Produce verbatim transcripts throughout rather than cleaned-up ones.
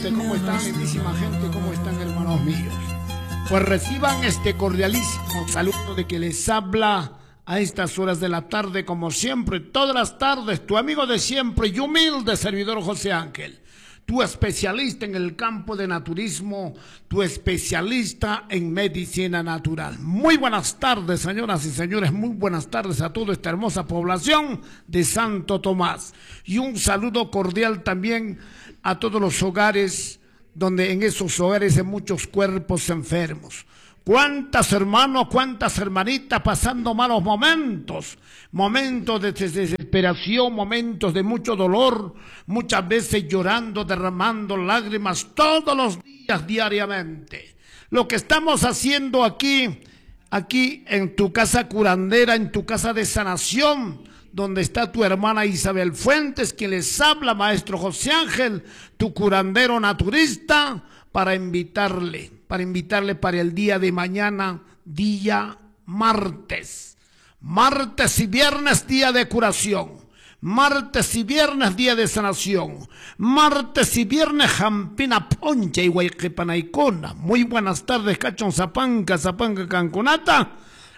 Este, ¿cómo están, lindísima gente? ¿Cómo están, hermanos míos? Pues reciban este cordialísimo saludo de que les habla a estas horas de la tarde, como siempre, todas las tardes, tu amigo de siempre y humilde servidor José Ángel, tu especialista en el campo de naturismo, tu especialista en medicina natural. Muy buenas tardes, señoras y señores, muy buenas tardes a toda esta hermosa población de Santo Tomás. Y un saludo cordial también a todos los hogares, donde en esos hogares hay muchos cuerpos enfermos. Cuántas hermanos, cuántas hermanitas pasando malos momentos, momentos de desesperación, momentos de mucho dolor, muchas veces llorando, derramando lágrimas todos los días, diariamente. Lo que estamos haciendo aquí, aquí en tu casa curandera, en tu casa de sanación, donde está tu hermana Isabel Fuentes, quien les habla, maestro José Ángel, tu curandero naturista, para invitarle, para invitarle para el día de mañana, día martes. Martes y viernes, día de curación. Martes y viernes, día de sanación. Martes y viernes, Jampina Poncha y Huayquepanaicona. Muy buenas tardes, Cachón Zapanca, Zapanca Cancunata.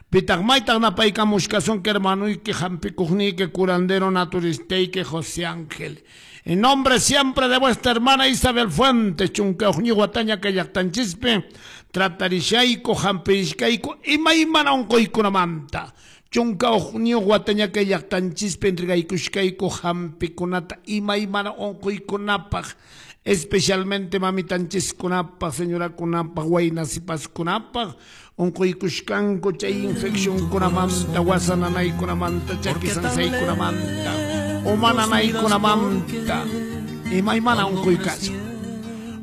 Pitagmaita napaica muscason que hermano y que jampicujni que curandero naturista y que José Ángel. En nombre siempre de vuestra hermana Isabel Fuentes, chunca guataña que yactanchispe, tratarishaico, jampirishkaico, imaymana unquykunamanta. Chunka guataña que yactanchispe, entregaykushkaico, jampikunata, imaymana unquykunapaq, especialmente mamitanchiskunapaq, señorakunapaq, waynasipaskunapaq, unquykushkanku chay infeccionkunamanta, wasananaykunamanta, chakisansaykunamanta, umananaykunamanta, imaymana unquykacha.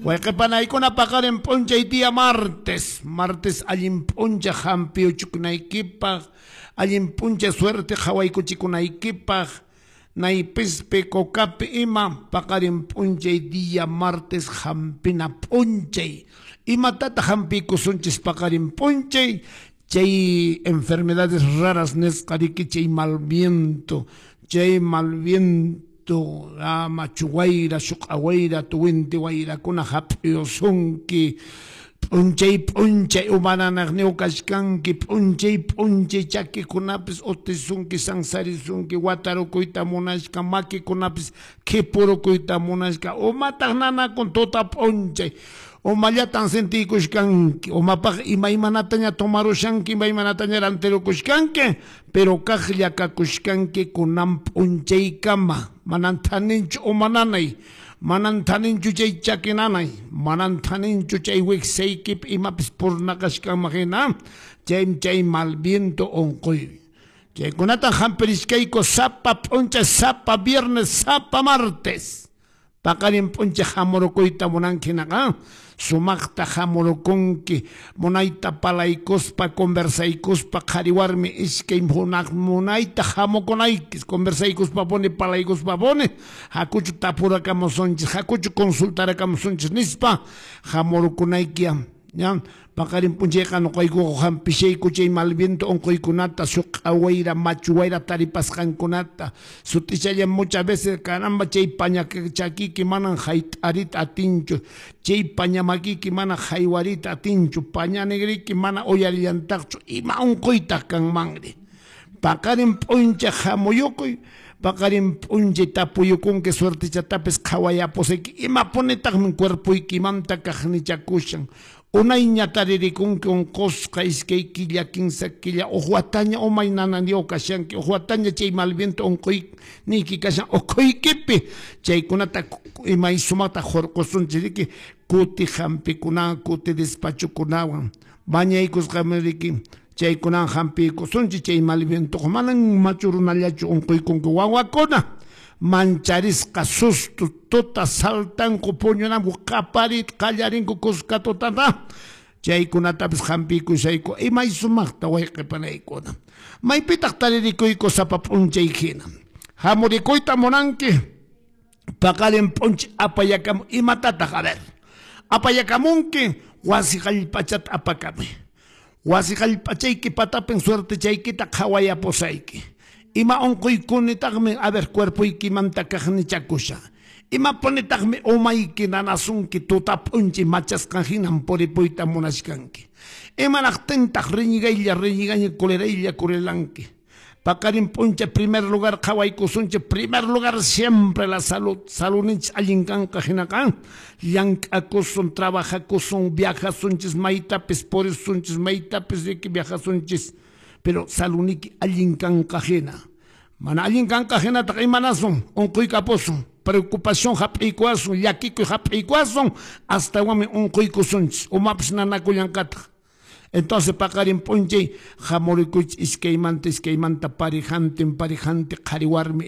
Wayqipanaykuna paqarin p'unchay día martes, martes allin p'uncha hampiyuchukunaykipaq, allin p'uncha suerte qhawaykuchikunaykipaq, naypispi cocapi ima paqarin p'unchay día martes hampina p'unchay. Imatata hampiykusunchis paqarin p'unchay, chay enfermedades raras nisqa riki chay mal viento, chay mal viento, ah, machu wayra, shuq'a wayra, tuwinti wayrakuna hap'iyusunki, p'unchay p'unchay umananaqniyu kashkanki, p'unchay p'unchay chakikunapis utisunki, sansarisunki, watarukuyta munashka, makikunapis khipurukuyta munashka, umataq nanakun tuta p'unchay, umallatan sentiykushkanki, umapaq imaymanataña tomarushanki, imaymanataña rantirukushkanki, pero kaqlla kakushkanki kunan p'unchaykama, manan thaninchu umananay, manan thaninchu chay chakinanay, manan thaninchu chay wiksaykipi imapis purnaqashkanman hina, chay chay mal viento unquy. Chaykunatan hampirishkayku sapa p'unchay, sapa viernes, sapa martes. Paqarin p'unchay hamurukuyta munanki hinaqa, sumaqta hamurukunki, munayta palaykuspa, conversaykuspa, qhari warmi iskay hunaq munayta hamukunaykis, conversaykuspa puni, palaykuspa puni, hakuchu tapurakamusunchis, hakuchu consultarakamusunchis nispa, hamurukunayki. Ya, paqarin p'unchayqa nuqaykuqa hampishayku chay mal viento unquykunata, suq'a wayra, machu wayra taripasqankunata, sut'ichallam muchas veces caramba chay paña chakiki manan hayt'arita atinchu, chay paña makiki mana haywarita atinchu, paña negriki mana uyarillantaqchu, ima unquytaq kanmanri. Paqarin p'unchay hamuyukuy, paqarin p'unchay tapuyukunki suertichatapis qhawayapusayki, imapunitaqmi cuerpoykimanta kaqnichakushan. Unayña taririkunki unqusqa iskay killa, kinsa killa, uj wataña umay nananiyu kashanki, uj wataña chay mal viento unquyniyki kashan ukhuykipi, chaykunata imay sumaqta hurqusunchis riki, kuti hampikunawan, kuti despachukunawan, bañaykusqami riki, chaykunawan hampiykusunchis chay mal vientoqa manan machu runallachu unquykunki wawakuna. Mancharisqa susto tuta saltanku puñunanku qaparit qallarinku kuska tutata, chaykunatapis hampiykushayku imay sumaqta wayqipanaykuna. Maypitaq taririkuyku sapa p'unchay hina. Hamurikuyta munanki, paqarin p'unchay apayakamu, imatataq a ver, apayakamunki wasi qallpachata apakamuy. Wasi qallpachayki patapin suertechaykita qhawayapusayki. Ima unquykunitaqmi, a ver, cuerpoykimanta kaqnichakusha. Imapunitaqmi umayki nanasunki tuta p'unchay machasqan hinan puripuyta munachkanki. Imanaqtintaq riñigaylla riñigaña coleraylla corelanki. Paqarin p'unchay primer lugar qhawaykusunchik, primer lugar siempre la salud, saludninchik allin kanqa hinaqa llank'akusun, trabajakusun, viajasunchis maytapis purisunchis, maytapis riki viajasunchis, pero saludniki allin kanqa hina. Mana allin kanqa hinataq imanasun, unquykapusun, preocupación hap'iykuwasun, llakikuy hap'iykuwasun, astawanmi unquykusunchis, umapis nanakullanqataq. Entonces paqarin p'unchay hamurikuychis iskaymanta iskaymanta parejantin parejante qhari warmi.